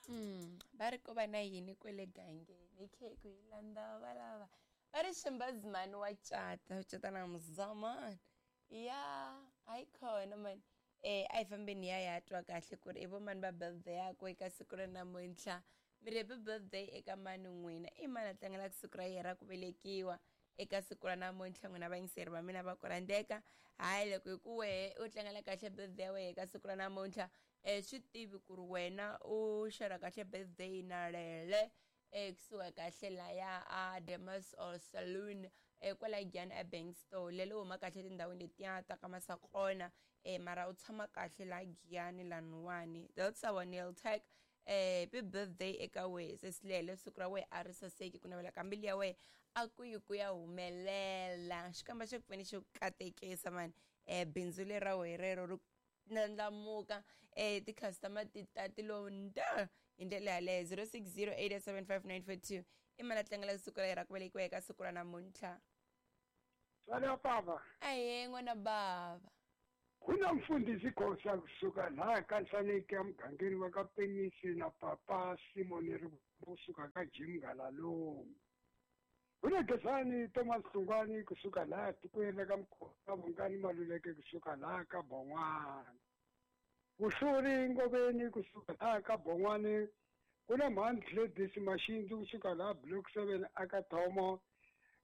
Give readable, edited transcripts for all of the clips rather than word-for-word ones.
Va ri ko va na yini kwele gangeni khekhu yi landza valava va ri ximbazimani wa cata u cata na muzamani ya hayi khona mani. A hi fambeni ya ya twa kahle ku ri i vo mani va birthday yakwe eka siku ra namuntlha. Mi ri happy birthday eka mani n'wina? I mani a tlangelaka siku ra yena ra ku velekiwa eka siku ra namuntlha? N'wina vayingiseri va mina va ku rhandzeka, hayi loko hi ku wehe u tlangela kahle birthday ya wehe eka siku ra namuntlha, swi tivi ku ri wena u xerha kahle birthday na lele kusuka kahle laya a Demas or Saloon, kwala Giyani a Bank Store. Lele u huma kahle tindhawini letiya ta ka Masakona, mara u tshama kahle la Giyani laniwani. That's our nail tech. Happy birthday eka wehe sesilele, siku ra wehe a ri saseki, ku navela ka mbilu ya wehe a ku yi ku ya humelela. Xikwembu xi ku pfuni xi ku katekisa mani, bindzu leri ra wehe rero ri ndlandlamuka, ti-customer ti ta ti lo nda hi ndlela yaleyo. 0608755942 i mali a tlangela siku ra yena ra ku velekiwa eka siku ra namuntlha. Tswala baba. Ahe n'wana baba. Ku na mfundhisi Khosa kusuka laha ka Nhlaneki emugangeni wa ka Penyisi na papa Simon ri kusuka ka Jim Ngalaloni. Ku na Gezani Thomas Hlungwani kusuka laha tikweni ra ka Mkhona, Vongani Maluleke kusuka laha ka Bon'wana. Vuhluri Ngoveni kusuka laha ka Bon'wani. Ku na Mhani Gladys Maxindzi kusuka laha Block 7 aka Thomo.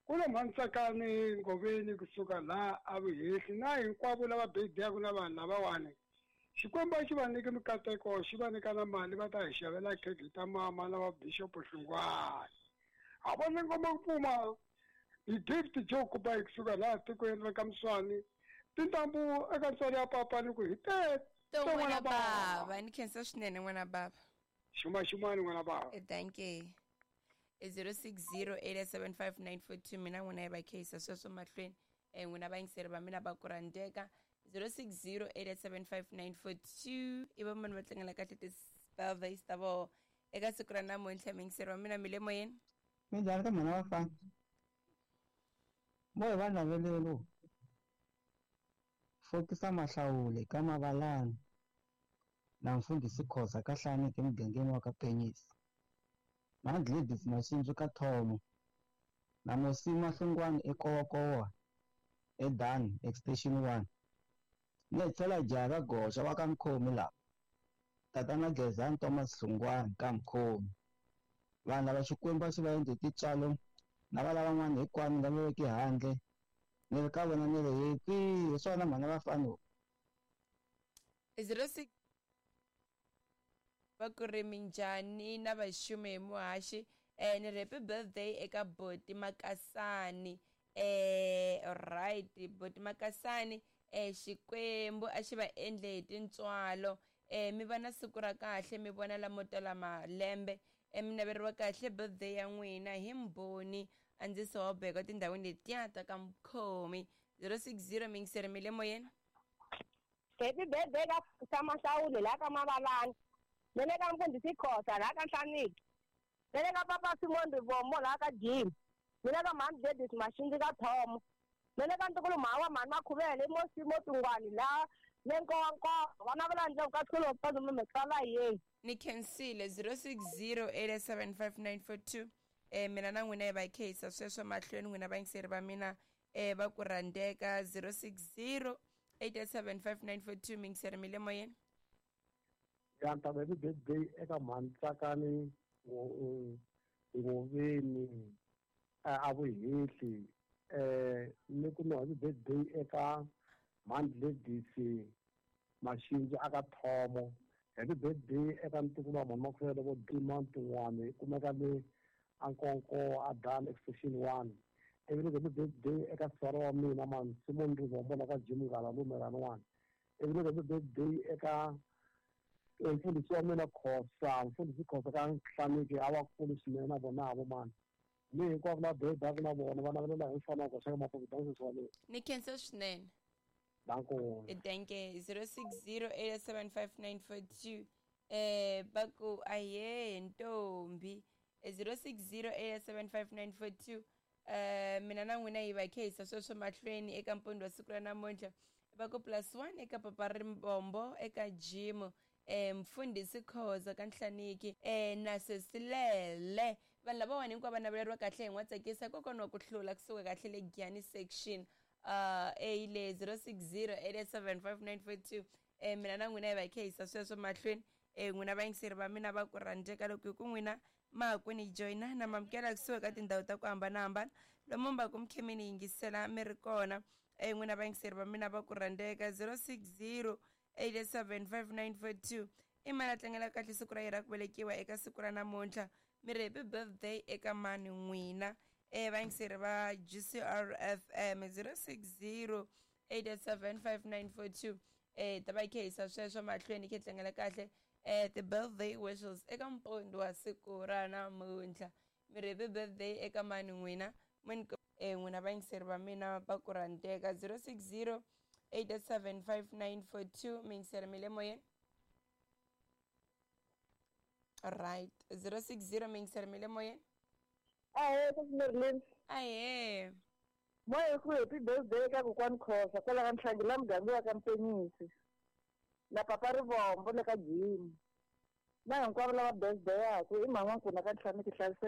Ku na Mhani Tsakani Ngoveni kusuka laha a Vuhehli na hinkwavo lava birthday na vanhu lavawani. Xikwembu a xi va nyiki mikateko, xi va nyika na mali va ta hi xavela khekhe ta mama na va Bishop Hlungwani. A vona ngoma ku pfuma hi Gift Joe Kubayi kusuka laha tikweni ra ka Mswani. Tintambu eka ntswalo ya papa ni ku hi te to n'wana baba. Ni khensa swinene n'wana baba. Xuma xumani n'wana baba. Thank you. 0608755942 mina n'wina yi va kheyisa sweswo mahlweni. N'wina vayingiseri va mina va ku rhandzeka. 0608755942 i va mani va tlangela kahle ti-birthdays ta voho eka siku ra namuntlha? Muyingiseri wa mina, mi le moyeni. Minjhani ka mhana vafana? Mo hi va navelelo fokisa mahlawule ka mavalani na mfundhisi Khosa ka Hlaneki emugangeni wa ka Penyisi na Gladys Maxindzu ka Thomo na Mosima Hlungwani eKowakowa eDan Extension 1 ni tlhela jaha ka Goxa wa ka Mkhomi laha tatana Gezani Thomas Hlungwani ka Mkhomi. Vanhu lava Xikwembu a xi va endle tintswalo na va lavan'wana hinkwavo lava veke handle ni ri ka vona ni ri happy hi swona mhana vafana. 06 va ku ri minjhani na vaxumi hi muhaxi? Ni ri happy birthday eka Boti Makasani. Alright, Boti Makasani, Xikwembu a xi va endle hi tintswalo, mi va na siku ra kahle, mi vona lamo tala malembe. Mi naveriwa kahle birthday ya n'wina hi Mbhoni Andziso wa Beka tindhawini letiya ta ka Mkhomi. 060 mingiseri mi le moyeni. Happy birthday ka Samahlawule la ka Mavalani. Mele ka mfundhisi Khosa la ka Nhlaniki. Mele ka papa Simon Rivombo la ka Jim. Mele ka mhani Gladys Maxindzi ka Thomo. Mele ka ntukulu mhawa mhani Makhuvele Mosimo Tungwani la le Nkowankowa. Vana va la ka tlhelo pa mitsala yeni. Ni khensile. 0608755942 mina na n'wina hi va kheyisa sweswo mahlweni n'wina vayingiseri va mina va ku rhandzeka. 0608755942 mingiseri mi le moyeni. Ya ta happy birthday eka mhani Tsakani Ngoveni a Vuhehli, ni ku no happy birthday eka mhani Gladys Maxindzu aka Thomo. Happy birthday eka ntukulu wa mhani Makhuvele vo Dima Ntun'wani kumeka le Ankonko a Dan Extension 1. Ivi ni happy birthday eka sivara wa mina mhani Simon Rivombo la ka Jim Ngala Lumelani 1. Ivi ni happy birthday eka mfundhisi wa mina Khosa, mfundhisi Khosa ka Nhlaneki a va kulu swinene na vona vo mani. Ni hinkwavo la birthday na vona va navelela hi mfana wa Khosa ka Maputo dances wa mina. Ni khensa swinene. Danko. Thank you. 0608755942 va ku ahe ntombi. 0608755942 mina na n'wina hi va kheyisa sweswo mahlweni eka mpondo wa siku ra namuntlha. Va ku +1 eka papa Rimbombo eka Jim. Mfundhisi Khoza ka Nhlaniki na Sesilele. Vanhu lavawani hinkwavo va naveleriwa kahle hi n'watsakisa kokwana wa ku hlula kusuka kahle le Giyani section a le 060 887 5942. Mina na n'wina hi va hi kha hi yisa sweswo mahlweni. N'wina vayingiseri va mina va ku rhandzeka, loko hi ku n'wina ma ha ku ni joyina na mamukela kusuka ka tindhawu ta ku hambanahambana lomu mi va ku mi khe mi ni yingisela mi ri kona. N'wina vayingiseri va mina va ku rhandzeka, 060 887 5942 i mani a tlangela kahle siku ra yena ra ku velekiwa eka siku ra namuntlha? Mi ri happy birthday eka mani n'wina? Vayingiseri va GCR FM, 060 887 5942. Ta va yi kha yisa sweswo mahlweni, khe tlangela kahle ti-birthday wishes eka mpondo wa siku ra namuntlha. Mi ri happy birthday eka mani n'wina? N'wina vayingiseri va mina va ku rhandzeka, 060 887 5942. Mi yingiseri mi le moyeni. Right, 060, mi yingiseri mi le moyeni. Ahee, Sesi. Ahee. Moya ku happy birthday ka kokwani Khosa kwala ka Nhlangi la muganga wa ka Mpenyisi na papa Rivombo le ka Jim na hinkwavo lava birthday yaku i mhani wa nkuna ka Nhlaniki. Hlayiseka.